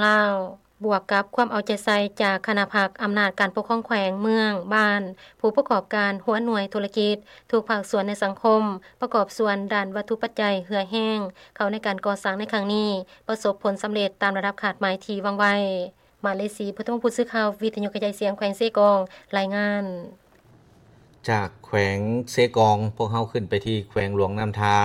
ລາວ. ບວກກັບຄວາມເອົາໃຈໃສ່ຈາກຄະນະພັກອຳນາດການປົກຄອງແຂວງ, ເມືອງ, ບ້ານ, ຜູ້ປະກອບການ, ຫົວໜ່ວຍທຸລະກິດ, ທຸກພາກສ່ວນໃນສັງຄົມ, ປະກອບສ່ວນດ້ານວັດຖຸປັດໄຈເຫື່ອແຮງ ເຂົ້າໃນການກໍ່ສ້າງໃນຄັ້ງນີ້ ປະສົບຜົນສຳເລັດຕາມລະດັບຄາດໝາຍທີ່ວາງໄວ້. ມາເລສີ ພຸດທະວົງ ຜູ້ສື່ຂ່າວວິທະຍຸກະຈາຍສຽງແຂວງເຊກອງ ລາຍງານ. ຈາກແຂວງເຊກອງ ພວກເຮົາຂຶ້ນໄປທີ່ແຂວງຫຼວງນ້ຳທາ.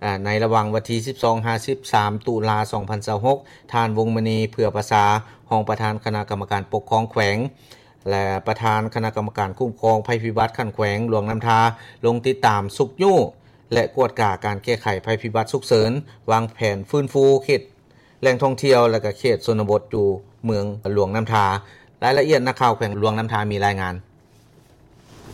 ອາ ໃນລະຫວ່າງວັນທີສິບສອງຫາສິບສາມ ຕຸລາ ສອງພັນຊາວຫົກ ທ່ານ ວົງມະນີ ເຜືອປະສາ ຮອງປະທານຄະນະກຳມະການປົກຄອງແຂວງ ແລະ ປະທານຄະນະກຳມະການຄຸ້ມຄອງໄພພິບັດຂັ້ນແຂວງຫຼວງນ້ຳທາ ລົງຕິດຕາມຊຸກຍູ້ ແລະ ກວດກາການແກ້ໄຂໄພພິບັດສຸກເສີນ, ວາງແຜນຟື້ນຟູເຂດ ແຫຼ່ງທ່ອງທ່ຽວ ແລະ ກະເຂດຊົນນະບົດຢູ່ເມືອງຫຼວງນ້ຳທາ. ລາຍລະອຽດ ນັກຂ່າວແຂວງຫຼວງນ້ຳທາມີລາຍງານ.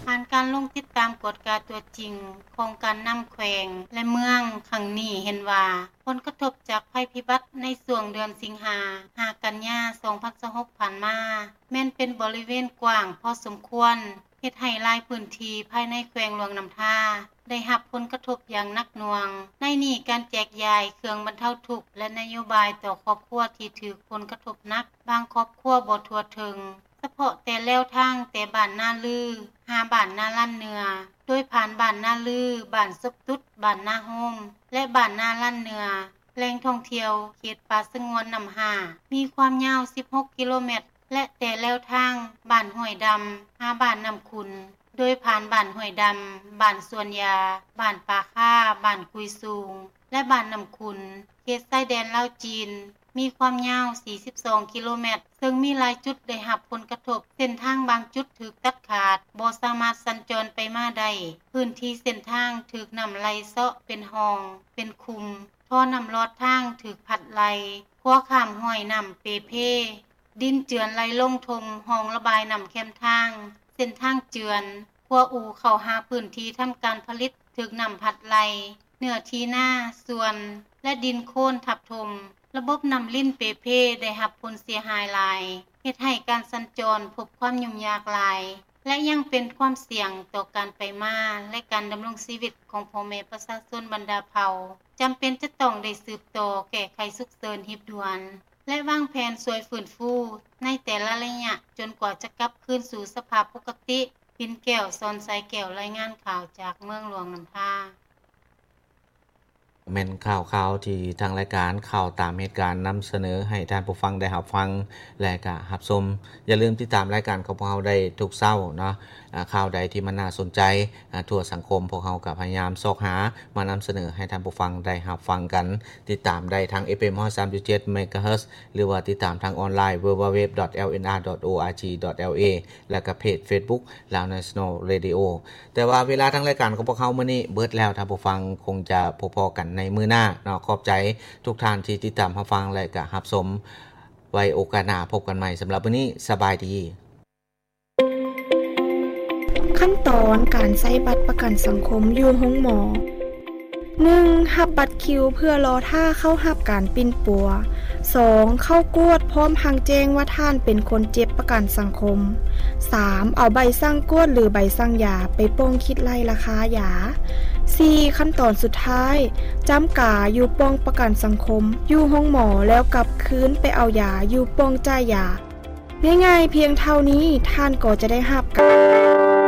ຜ່ານການລົງຕິດຕາມກວດກາຕົວຈິງຂອງການນຳແຂວງ ແລະ ເມືອງຄັ້ງນີ້ເຫັນວ່າ ຜົນກະທົບຈາກໄພພິບັດໃນຊ່ວງເດືອນສິງຫາ ຫາ ກັນຍາ ສອງພັນຊາວຫົກ ຜ່ານມາ ແມ່ນເປັນບໍລິເວນກວ້າງພໍສົມຄວນ ເຮັດໃຫ້ຫຼາຍພື້ນທີ່ພາຍໃນແຂວງຫຼວງນ້ຳທາ ໄດ້ຮັບຜົນກະທົບຢ່າງໜັກໜ່ວງ. ໃນນີ້ການແຈກຢາຍເຄື່ອງບັນເທົາທຸກ ແລະ ນະໂຍບາຍຕໍ່ຄອບຄົວທີ່ຖືກຜົນກະທົບໜັກ, ບາງຄອບຄົວບໍ່ທົ່ວເຖິງ, ສະເພາະແຕ່ແລວທາງແຕ່ບ້ານນາລື ຫາບ້ານນາລານເໜືອ, ໂດຍຜ່ານບ້ານນາລື, ບ້ານສົບຕຸດ, ບ້ານນາໂຮມ ແລະ ບ້ານນາລານເໜືອ. ແຫຼ່ງທ່ອງທ່ຽວເຂດປ່າສະຫງວນນ້ຳຫ້າ ມີຄວາມຍາວສິບຫົກກິໂລແມັດ ແລະ ແຕ່ແລວທາງບ້ານຫ້ວຍດຳ ຫາບ້ານນ້ຳຂຸນ, ໂດຍຜ່ານບ້ານຫ້ວຍດຳ, ບ້ານສວນຢາ, ບ້ານປ່າຄ້າ, ບ້ານກຸຍສູງ ແລະ ບ້ານນ້ຳຂຸນ, ເຂດຊາຍແດນລາວ-ຈີນ ມີຄວາມຍາວສີ່ສິບສອງກິໂລແມັດ ເຊິ່ງມີຫຼາຍຈຸດໄດ້ຮັບຜົນກະທົບ, ເສັ້ນທາງບາງຈຸດຖືກຕັດຂາດ, ບໍ່ສາມາດສັນຈອນໄປມາໄດ້. ພື້ນທີ່ເສັ້ນທາງຖືກນ້ຳໄຫຼເຊາະເປັນຮ່ອງ, ເປັນຂຸມ, ທໍ່ນ້ຳລອດທາງຖືກພັດໄຫຼ, ຂົວຂ້າມຫ້ວຍນ້ຳເປ່ເພ, ດິນເຈື່ອນໄຫຼລົງຖົ່ມຮ່ອງລະບາຍນ້ຳແຄມທາງ, ເສັ້ນທາງເຈື່ອນ, ຂົວອູ່ເຂົ້າຫາພື້ນທີ່ທຳການຜະລິດຖືກນ້ຳພັດໄຫຼ, ເນື້ອທີ່ນາ, ສວນ ແລະ ດິນໂຄນທັບຖົ່ມ, ລະບົບນ້ຳລິນເປ່ເພໄດ້ຮັບຜົນເສຍຫາຍຫຼາຍ, ເຮັດໃຫ້ການສັນຈອນພົບຄວາມຫຍຸ້ງຍາກຫຼາຍ ແລະ ຍັງເປັນຄວາມສ່ຽງຕໍ່ການໄປມາ ແລະ ການດຳລົງຊີວິດຂອງພໍ່ແມ່ປະຊາຊົນບັນດາເຜົ່າ, ຈຳເປັນຈະຕ້ອງໄດ້ສືບຕໍ່ແກ້ໄຂສຸກເສີນຮີບດ່ວນ ແລະ ວາງແຜນຊ່ວຍຟື້ນຟູໃນແຕ່ລະໄລຍະ ຈົນກວ່າຈະກັບຄືນສູ່ສະພາບປົກກະຕິ. ປິ່ນແກ້ວ ສອນສາຍແກ້ວ ລາຍງານຂ່າວຈາກເມືອງຫຼວງນ້ຳທາ. ແມ່ນຂ່າວຄາວທີ່ທາງລາຍການຂ່າວຕາມເຫດການນຳສະເໜີໃຫ້ທ່ານຜູ້ຟັງໄດ້ຮັບຟັງ ແລະ ກະຮັບຊົມ. ຢ່າລືມຕິດຕາມລາຍການຂອງພວກເຮົາໄດ້ທຸກເຊົ້າເນາະ. ອາ ຂ່າວໃດທີ່ມັນໜ້າສົນໃຈ ອາ ທົ່ວສັງຄົມ ພວກເຮົາກະພະຍາຍາມຊອກຫາມານຳສະເໜີໃຫ້ທ່ານຜູ້ຟັງໄດ້ຮັບຟັງກັນ. ຕິດຕາມໄດ້ທາງ ເອັຟເອັມ ຮ້ອຍສາມຈຸດເຈັດ ເມກາເຮີດ ຫຼືວ່າຕິດຕາມທາງອອນລາຍ www.lnr.org.la ແລະ ກະເພຈ Facebook Lao National Radio. ແຕ່ວ່າເວລາທາງລາຍການຂອງພວກເຮົາມື້ນີ້ເບິດແລ້ວ, ທ່ານຜູ້ຟັງຄົງຈະພົບພໍ້ກັນໃນມື້ໜ້າເນາະ. ຂອບໃຈທຸກທ່ານທີ່ຕິດຕາມຮັບຟັງ ແລະ ກະຮັບຊົມ. ໄວ້ໂອກາດໜ້າພົບກັນໃໝ່. ສຳລັບມື້ນີ້ ສະບາຍດີ. ຂັ້ນຕອນການໃຊ້ບັດປະກັນສັງຄົມຢູ່ໂຮງໝໍ. ໜຶ່ງ ຮັບບັດຄິວເພື່ອລໍຖ້າເຂົ້າຮັບການປິ່ນປົວ. ສອງ ເຂົ້າກວດພ້ອມທັງແຈ້ງວ່າທ່ານເປັນຄົນເຈັບປະກັນສັງຄົມ. ສາມ ເອົາໃບສັ່ງກວດ ຫຼື ໃບສັ່ງຢາໄປປ່ອງຄິດໄລ່ລາຄາຢາ. ສີ່ ຂັ້ນຕອນສຸດທ້າຍ ຈ້ຳກາຢູ່ປ່ອງປະກັນສັງຄົມ ຢູ່ໂຮງໝໍ ແລ້ວກັບຄືນໄປເອົາຢາຢູ່ປ່ອງຈ່າຍຢາ. ງ່າຍໆພຽງເທົ່ານີ້ ທ່ານກໍຈະໄດ້ຮັບການ